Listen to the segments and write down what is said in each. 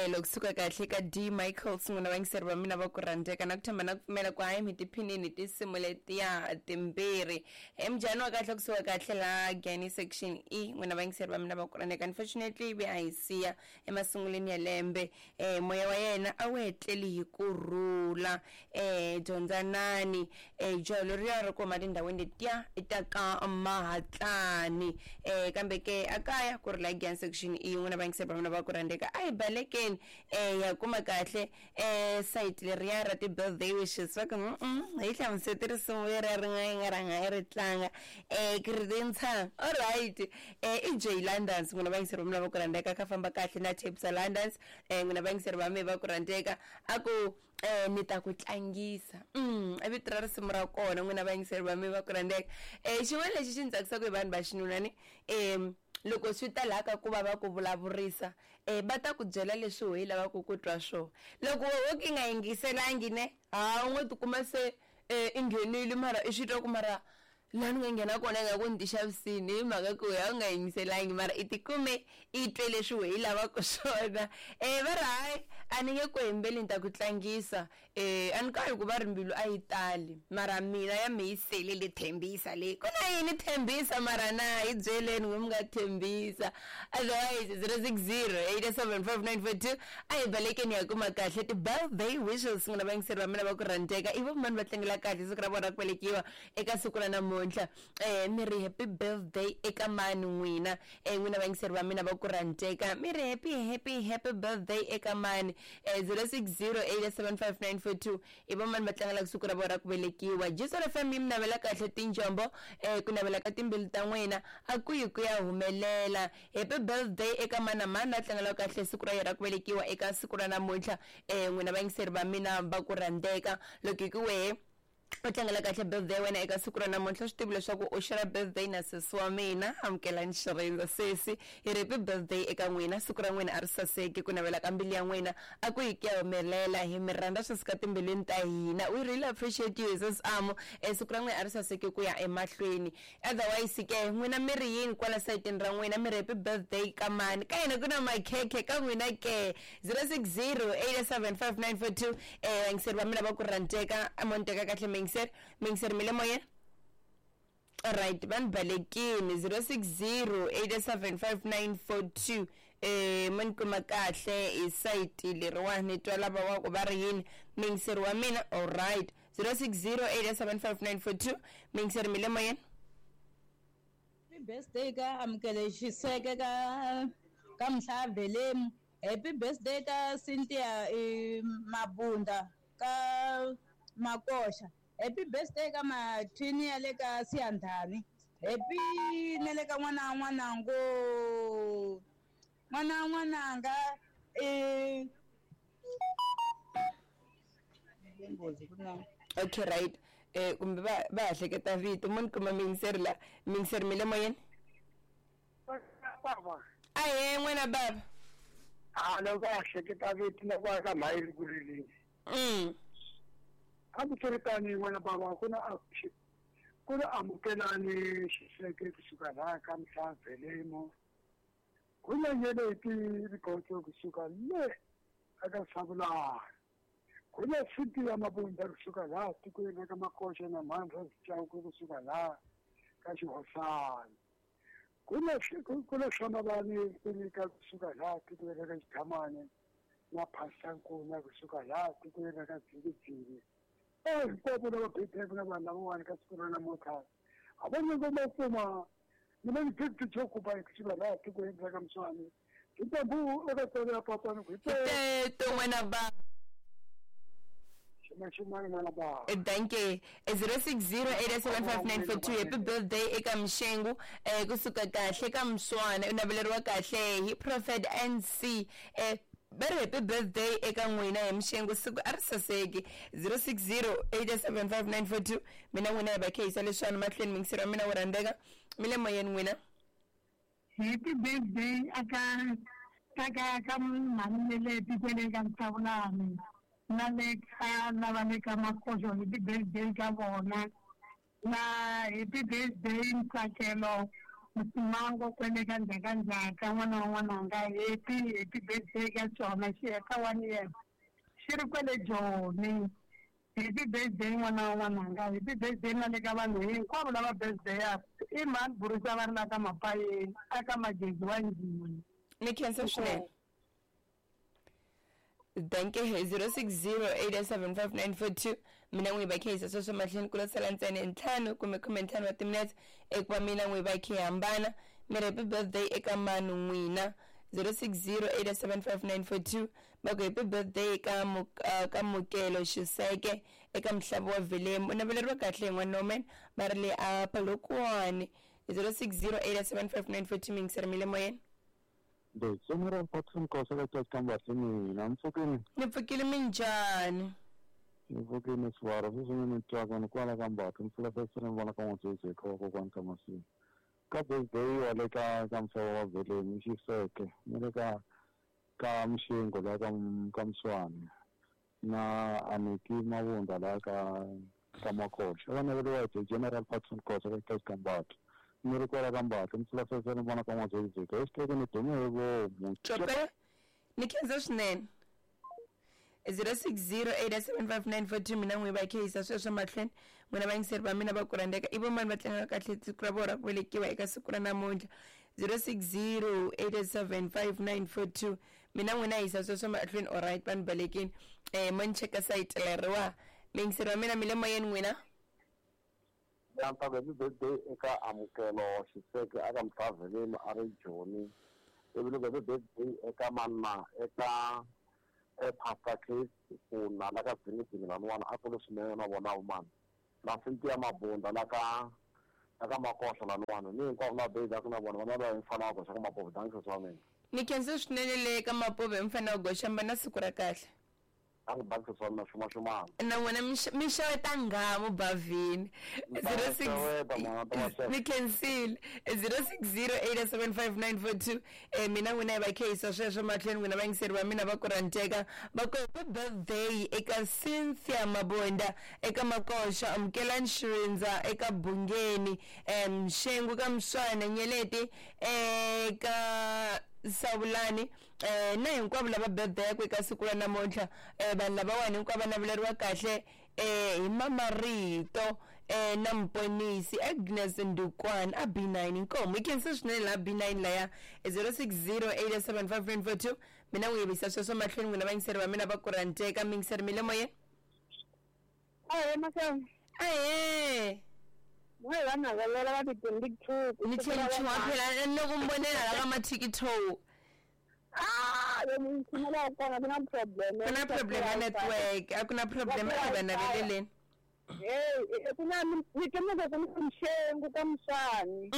Ntsakelo kusuka kahle ka D Michaels n'wina vayingiseri va mina va ku rhandzeka na ku tshemba na ku pfumela ku hayi mi tiphinini tinsimu letiya timbirhi. Mjhani wa kahle kusuka kahle la Giyani section E n'wina vayingiseri va mina va ku rhandzeka unfortunately ve a hi siya emasungulweni ya lembe moya wa yena a wu etleli hi ku rhula dyondzanani jaha leriya ri ku huma tindhawini letiya ta ka Mahatlani kambe ke a kaya ku ri la Giyani section E n'wina vayingiseri va mina va ku rhandzeka a hi balekeni hi ya kuma kahle sayiti leriya ra ti-birthday wishes va ku hi hlamusete risimu leriya ri nga yi nga rhanga yi ri tlanga ku ri rintshang alright i Jay Londons n'wina vayingiseri va mina va ku rhandzeka kha famba kahle na Tebza Londons n'wina vayingiseri va mina va ku rhandzeka a ku ni ta ku tlangisa i vito ra risimu ra kona n'wina vayingiseri va mina va ku rhandzeka xin'wana lexi xi ni tsakisaka hi vanhu va xinuna ni loko swi ta laha ka ku va va ku vulavurisa va ta ku byela leswi wehe i lavaka ku twa swona loko wehe wo ka i nga yingiselangi ne ha u ngo tikuma se i nghenile mara i swi twa ku mara laha ni nga nghena kona ingaku ni ti xavisini hi mhaka ku wehe a wu nga yingiselangi mara i tikume i twe leswi wehe i lavaka swona va ri hayi a ni nge ku hembeli ni ta ku tlangisa a ni kali ku va ri mbilu a yi tali mara mina ya me yi sele le thembisa leyi ku na yini thembisa mara na hi byeleni n'we mi nga thembisa otherwise 0608755942 a hi balekeni ya kuma kahle ti-birthday wishes n'wina vayingiseri va mina va ku rhandzeka i vo mani va tlangela kahle siku ra vona ra ku velekiwa eka siku ra namuntlha mi ri happy birthday eka mani n'wina n'wina vayingiseri va mina va ku rhandzeka mi ri happy happy happy birthday eka mani 0608755942 i vo mani va tlangelaka siku ra vona ra ku velekiwa Jesu FM yi mi navela kahle tinjombo ku navela ka timbilu ta n'wina a ku yi ku ya humelela happy birthday eka mani na mani la tlangelaka kahle siku ra yena ra ku velekiwa eka siku ra namuntlha n'wina vayingiseri va mina va ku rhandzeka loko hi ku wehe u tlangela kahle birthday wena eka siku ra namuntlha swi tivi leswaku u share birthday na sesi wa mina amukelani xirindza sesi hi ri happy birthday eka n'wina siku ra n'wina a ri saseki ku navela ka mbilu ya n'wina a ku yi ku ya humelela hi mi rhandza swi suka timbilwini ta hina we really appreciate you sis Amo siku ra n'wina a ri saseki ku ya emahlweni otherwise ke n'wina mi ri yini kwala sayitini ra n'wina mi ri happy birthday ka mani ka hina ku na makhekhe ka n'wina ke 0608755942 vayingiseri va mina va ku rhandzeka mo ni teka kahle muyingiseri muyingiseri mi le moyeni alright va ni balekini 0608755942 mo ni kuma kahle hi sayiti leriwani ni twa lava wa ku va ri yini muyingiseri wa mina alright 0608755942 muyingiseri mi le moyeni Happy birthday ka Amukele Xiseke ka ka Mhlavelemu. Happy birthday ka Cynthia Mabunda ka Makoxa. Happy birthday ka Mathini ya le ka Siyandhani. Happy na le ka n'wana wa n'wanango. N'wana wa n'wananga i nghozi ku na okay right kumbe va va ha hleketa vito mo ni kuma muyingiseri la muyingiseri mi le moyeni Baba. Ahee n'wina baba. A loko a hleketa vito na ku aka mhayili ri ku rileni. Hambiswiritano n'wana baba ku na ku na amukelani xiseke kusuka laha ka Mhlavelemo. Ku na nyeleti Rikhotso kusuka le aka Savulani. Ku na Cynthia Mabunda kusuka laha tikweni ra ka Makoxa na Mhandza Chauke kusuka laha ka Xihosana. Ku na ku na Hlamavani Kunika kusuka laha tikweni ra ka Xithamani na Pastor Nkuna kusuka laha tikweni ra ka Dzingidzingi. Hinkwavo lava birthday na vanhu lavawani ka siku ra namuntlha a va nyiko ma kuma mina ni fifty chokuba kusuka laha tikweni ra ka Mswani Hinkwambu eka tsolo ya papa ni ku hi teto n'wina ba ximani n'wana ba Danke 0608755942 happy birthday eka Mshengu kusuka kahle ka Mswana u naveleriwa kahle hi Prophet NC va ri happy birthday eka n'wina hi Mshengu siku a ri saseki 0608755942 mina n'wina hi va khehisa leswiwani mahlweni mingiseri wa mina wo rhandzeka mi le moyeni n'wina Happy birthday aka ka ka mhani le tikweni ka Mhlawulani na le ka lava le ka Makoxo happy birthday ka vona na happy birthday Ntsakelo Msimango kwele ka ndzhakandzhaka n'wana wa n'wananga happy birthday ka xona xi heta 1 year xi ri kwele Joni. Happy birthday n'wana wa n'wananga, happy birthday na le ka vanhu hinkwavo lava birthday ya i mhani burisa va ri la ka Mapayeni aka Magezi wa Njhini. Ni khensa swinene. Danke. 0608755942 mina n'wi va khehisa sweswo mahlweni ku lo sala ntsena 5 kumbe 15 wa timinetse ekuva mina n'wi va khe hambana. Mi ri happy birthday eka manu n'wina. 0608755942 va ku happy birthday eka ka Mukelo Xiseke eka Mhlava wa Velemu, u naveleriwa kahle hi n'wana va ri le a Polokwane. 0608755942 mingiseri mi le moyeni. General Patson Khosa ka Kambahle mina mpfukeni. Ni pfukile minjhani? Ni pfukile swara sweswi ni twaka ni kwala ka Mbatha mpfula fesere ni vona ka n'watsotsi eka kokwani ka Masini. Ka birthday wa le ka Mhlava wa Velemu Xiseke ni le ka Mxingo la ka Mswani na Aniki Mavunda la ka Makoxa. Va naveriwa hi General Patson Khosa ka Kambatha. Ni ri kwala ka Mbatha mpfula fesere ni vona ka n'watsotsi eka xiteke ni dume hi vomu. Cope ni khensa swinene. 0608755942 mina n'wi va khehisa sweswo mahlweni n'wina vayingiseri va mina va ku rhandzeka i vomani va tlangaka kahle siku ra vona ra ku velekiwa eka siku ra namuntlha. 0608755942 mina n'wina hisa sweswo mahlweni. Alright vanhu balekini mo ni cheka sayiti leriwa miyingiseri wa mina mi le moyeni n'wina. Happy birthday eka Amukelo Xiseke aka Mhlaveleni a ri Joni. Ivi loko happy birthday eka manna eka Pastor Case kuna la ka Dzingidzini laniwani a kule swinene na vona vumani na Cynthia Mabunda la ka Makoxa laniwani ni hinkwavo la birthday na vona vana va mfana wa goxa ka Mapovo. Danke swa mina. Ni khensa swinene le ka Mapovo hi mfana wa goxa mba na siku ra kahle. Na n'wina mi xeweta nghamu bavhini. 06 ni khensile. 0608755942 mina n'wina hi va khehisa sweswo mahlweni n'wina vayingiseri va mina va ku rhandzeka va ku happy birthday eka Cynthia Mabonda eka Makoxa, Amukelani Xirindza eka Bungeni, Mxengu ka Mswana, Nyeleti eka Savulani na hinkwavo lava birthday yakwe eka siku ra namuntlha. Vanhu lavawani hinkwavo va naveleriwa kahle hi Mamarito na Mponisi Agnes Ndukwana a B9 inkomo. I khensa swinene laha B9 laya. 0608755942 mina n'wi yivisa sweswo mahlweni n'wina vayingiseri va mina va ku rhandzeka. Mingiseri mi le moyeni. Ahee mahlweni. Ahee. N'we va navelela va ti-22. Ni tlhela chuha phela loko mi vonela la ka ma-TikTok. Yo mi kona ku na problem. Ku na problem ya network, a ku na problem a va naveleleni. Hey, ku na ni temuka ku na Mxengu ka Mswani.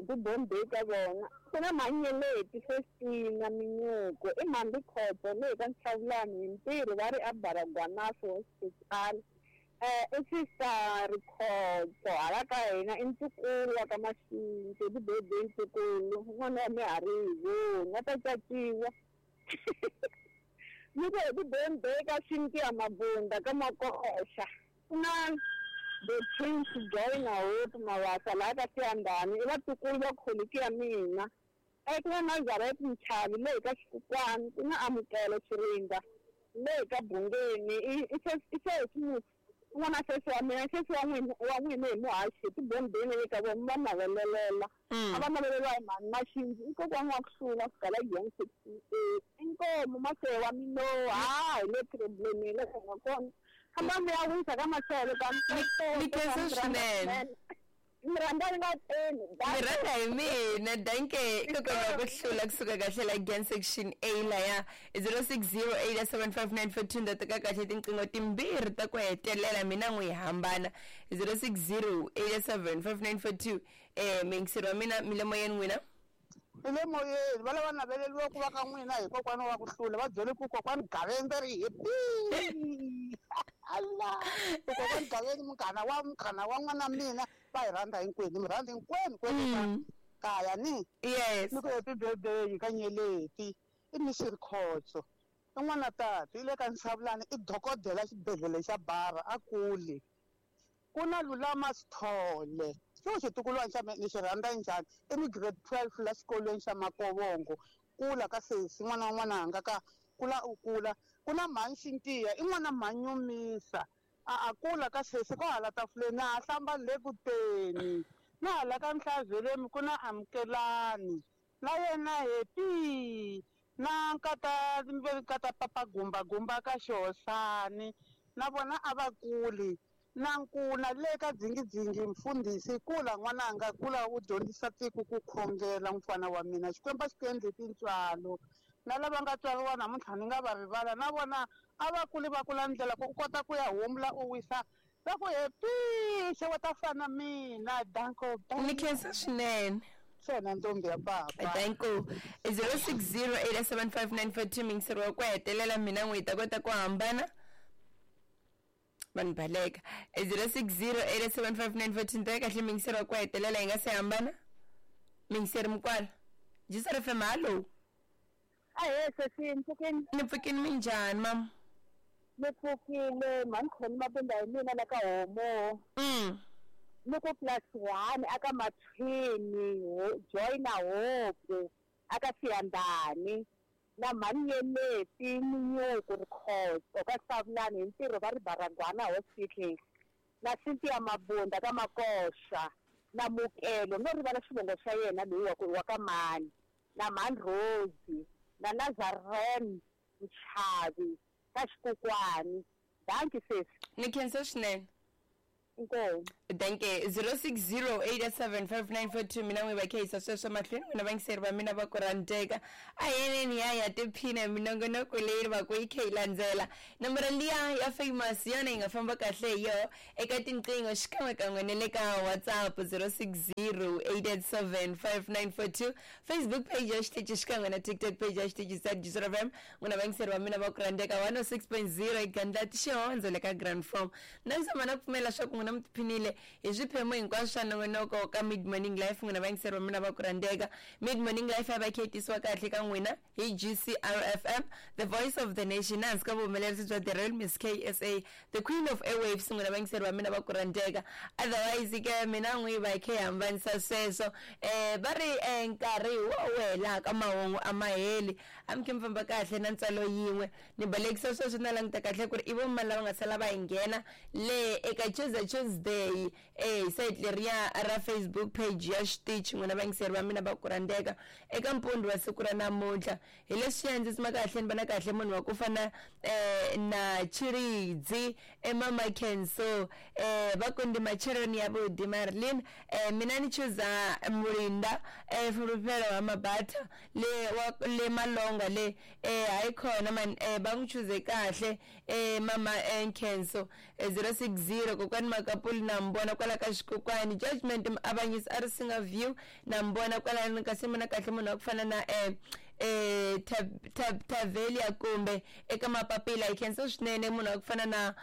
Ku birthday ka vona. Ku na Manyeleti Festina Minyuko, i Mhambi Khoto le ka Ntlhavulani hi ntirho va ri a Baragwanath Hospital. I Sister Rikhotso hala ka hina i ntukulu wa ka Maxinti, happy birthday ntukulu n'wana wa Miharivo nga ta caciwa. Ni ku happy birthday ka Cynthia Mabunda ka Makoxa. Ku na the Prince Joy na Hope Mawasa laha ka Siyandhani i vatukulu va kholiki ya mina. Ku na Nazareth Mchavi le ka Xikukwani, ku na Amukelo Xirinda le ka Bungeni i sesi n'wana sesi wa mina sesi wa n'wina hi muhaxi ti-birthday le ka vona va navelelela. A va naveleriwa hi mhani Maxinzi i kokwana wa ku hlula ku fikela Gen 68 inkomu Masewa wa Minowa hi le problemeni le nga kona. Hamba mi ya wisa ka Masele ka Ni khensa swinene. Mi rhandza ni nga teni. Mi rhandza hi mina danke kokwana ku hlula kusuka kahle la Gen section A laya. 0608755942 nda teka kahle tinqingho timbirhi ta ku hetelela mina n'wi hambana. 0608755942 mingiseri wa mina mi le moyeni n'wina. Mi le moyeni va lava naveleriwa ku va ka n'wina hi kokwana wa ku hlula va byele ku kokwani Gaveni ri happy. Allah kokwani Gaveni munghana wa n'wana mina va hi rhandza hinkwenu mi rhandza hinkwenu kwenu kaya ni. Yes. Ni ku happy birthday ka Nyeleti i Mr Khotso i n'wana tata i le ka Ntshavulani i dokodela xibedhlele xa Bara a kule. Ku na Lulama Sithole Xo xitukulwana xa mina ni xi rhandza njhani? I ni grade 12 la xikolweni xa Makovongo. Kula ka sesi n'wana wa n'wananga ka kula u kula. Ku na mhani Xintiya i n'wana mhanyumisa. A a kula ka sesi ko hala tafuleni a ha hlamba le ku teni. Na hala ka Mhlavelemi ku na Amukelani. Na yena happy. Na nkata nkata papa gumba gumba ka Xihosani. Na vona a va kuli. Na nkuna le ka dzingidzingi mfundhisi kula n'wananga kula u dyondzisa tiko ku khongela mfana wa mina. Xikwembu a xi ku endli tintswalo. Na lava nga tswariwa namuntlha ni nga va rivala na vona a va kuli va kula ndlela ku u kota ku ya humula u wisa va ku happy xeweta fana mina danko. Ni khensa swinene. Swona ntombi ya papa. Thank you. 06087594 mingiseri wa ku hetelela mina n'wi hi ta kota ku hambana. Vanhu baleka. 06087594 ni kahle mingiseri wa ku hetelela hi nga se hambana. Mingiseri Mukwala. Jisar FM, hallo. Ahee sesi, mpfukeni. Ni pfukini, minjhani mama? Ni pfukile mhani Khoni Mabunda hi mina la ka homo. Ni ku +1 aka Mathwini joyina Hope aka Siyandhani na mhani Yeleti Minyuku Rikhotso ka Savulani hi ntirho va ri Baragwana Hospital na Cynthia Mabunda ka Makoxa na Mukelo no rivala xivongo xa yena loyi wa ka mani na mhani Rosie na Nazaren Mchavi ka Xikukwani. Dankie sesi. Ni khensa swinene. Inkomu. Thank you. 06087594 mina n'wi va khehisa sweswo mahlweni n'wina vayingiseri va mina va ku rhandzeka. A yeneni ya ya tiphina minongonoko leyi va ku yi kha yi landzela. Nomboro liya ya famous yona yi nga famba kahle hi yoho eka tinqingho xikan'wekan'we na le ka WhatsApp 06087594 Facebook page ya xitichi xikan'we na TikTok page ya xitichi sa Jisr FM. N'wina vayingiseri va mina va ku rhandzeka 106.0 egandlati xihondzo le ka Grand Form. Na zama na ku pfumela swa ku n'wina mi tiphinile hi swiphemu hinkwaswo swa nongonoko ka Mid Morning Life. N'wina vayingiseri va mina va ku rhandzeka. Mid Morning Life ya va kha yi tisiwa kahle ka n'wina hi GCRFM, the voice of the nation, hansi ka vuhumelerisi bya the real Miss KSA, the queen of airwaves. N'wina vayingiseri va mina va ku rhandzeka. Otherwise ke mina n'wi va kha hi hambanisa sweswo. Va ri nkarhi wo welaka mahungu a ma heli. A mi khe mi famba kahle na ntswalo yin'we. Ni balekisa sweswo na languta kahle ku ri i vo mani lava nga sala va hi nghena le eka Tuesday hi site leriya ra Facebook page ya xitichi. N'wina vayingiseri va mina va ku rhandzeka eka mpundzu wa siku ra namuntlha. Hi leswiya ndzi tsima kahle ni vona kahle munhu wa ku fana na Chiridzi emama Kenso va ku ndi macheroni ya vudi Marlin. Mina ni chuza Mulinda Fulufhelo wa Mabatha le wa le Malonga le hayi khona man va n'wi chuze kahle mama Kenso. 060 kokwani Makapuli na mbona kwala ka Xikukwani. Judgment Muavanyisi a ri singa view na mbona kwala kasi mina kahle munhu wa ku fana na Tavelia kumbe eka mapapila. Hi khensa swinene munhu wa ku fana na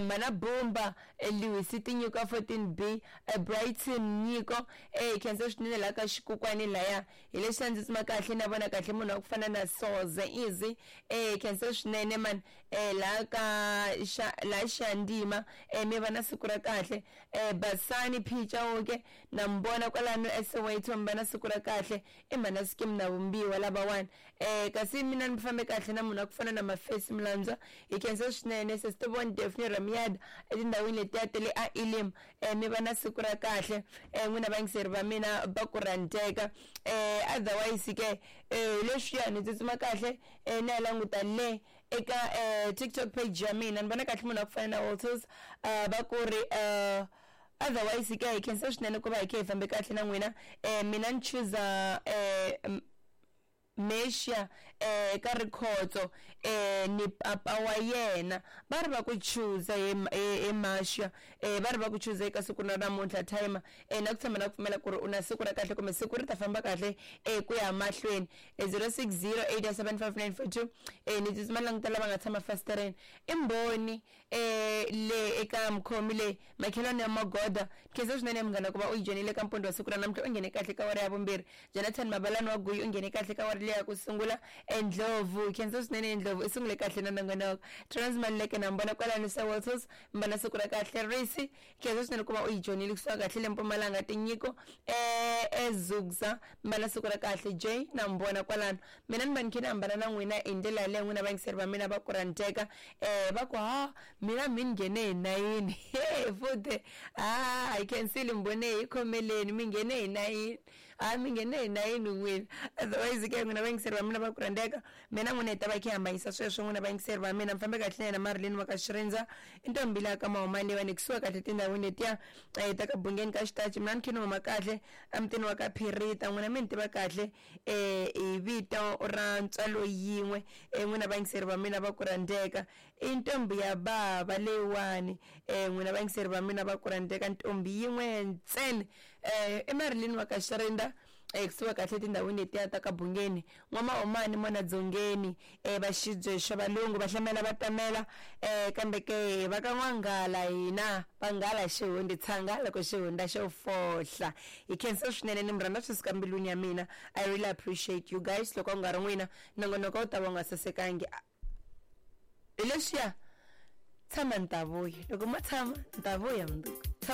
Mana Bumba Lewis Tinyiko 14B Brighton Nyiko. Hi khensa swinene la ka Xikukwani laya. Hi leswi ndzi tsima kahle na vona kahle munhu wa ku fana na Soze Easy. Hi khensa swinene man la ka la Xandima. Mi va na siku ra kahle. Basani Phichauke na mbona kwalano Soweto mi va na siku ra kahle. I mhana Skim na Vumbiwa lavawani. Kasi mina ni fambe kahle na munhu wa ku fana na Mafesi Mlandzwa. Hi khensa swinene Sesitobon Daphne Ramiad etindhawini letiya ta le a Elim. Mi va na siku ra kahle n'wina vayingiseri va mina va ku rhandzeka. Otherwise ke leswiya ni tsutsuma kahle ni ya languta le eka TikTok page ya mina ni vona kahle munhu wa ku fana na Walters va ku ri otherwise ke hi khensa swinene ku va hi kha hi fambe kahle na n'wina. Mina ni chuza Mesha ka Rikhotso ni papa wa yena va ri va ku chuza hi Masha va ri va ku chuza eka siku ra namuntlha timer. Na ku tshama na ku pfumela ku ri u na siku ra kahle kumbe siku ri ta famba kahle ku ya mahlweni. 06087594 ni tsutsuma languta lava nga tshama fastereni i mbhoni le eka mukhomi le makhelwani ya Magoda. Khensa swinene munghana ku va u yi joyinile ka mpundzu wa siku ra namuntlha. U nghene kahle ka wara ya vumbirhi. Jonathan Mabalani wa Guyi u nghene kahle ka wara leyi ya ku sungula. Endlovu khensa swinene Endlovu i sungule kahle na nongonoko. Trans Maluleke na mbona kwalano sa Walters mbona siku ra kahle Risi khensa swinene ku va u yi joinile kusuka kahle le Mpumalanga tinyiko eZugza mbona siku ra kahle J na mbona kwalano. Mina ni va ni khe ni hambana na n'wina hi ndlela yaleyo n'wina vayingiseri va mina va ku rhandzeka va ku ha mina mi ni nghene hi nayini he futhi ha hi khensile mbone hi khomeleni mi nghene hi nayini ha mi nghene hi nayini n'wina. Otherwise ke n'wina vayingiseri va mina va ku rhandzeka mina n'wina hi ta va khe hambanyisa sweswo n'wina vayingiseri va mina mi fambe kahle na yena Marilyn wa ka Xirindza i ntombi leya ka Mahumani leyiwani kusuka kahle tindhawini letiya ta ka Bungeni ka Xitachi. Mina ni khe ni huma kahle emutini wa ka Phirita n'wina mi ni tiva kahle hi vito ra ntswalo yin'we n'wina vayingiseri va mina va ku rhandzeka i ntombi ya bava leyiwani n'wina vayingiseri va mina va ku rhandzeka ntombi yin'we ntsena i Marilyn wa ka Xirindza kusuka kahle tindhawini letiya ta ka Bungeni N'wamahumani mona Dzongeni va xibye xa valungu va hlamela va tamela kambe ke va ka N'wanghala hina vanghala xihundi tshanga loko xihunda xo fohla. Hi khensa swinene ni mi rhandza swi suka mbilwini ya mina. I really appreciate you guys. Loko a ku nga ri n'wina nongonoko wu ta va wu nga sasekangi. Hi leswiya tshama ni ta vuya loko mo tshama ni ta vuya mundzuku.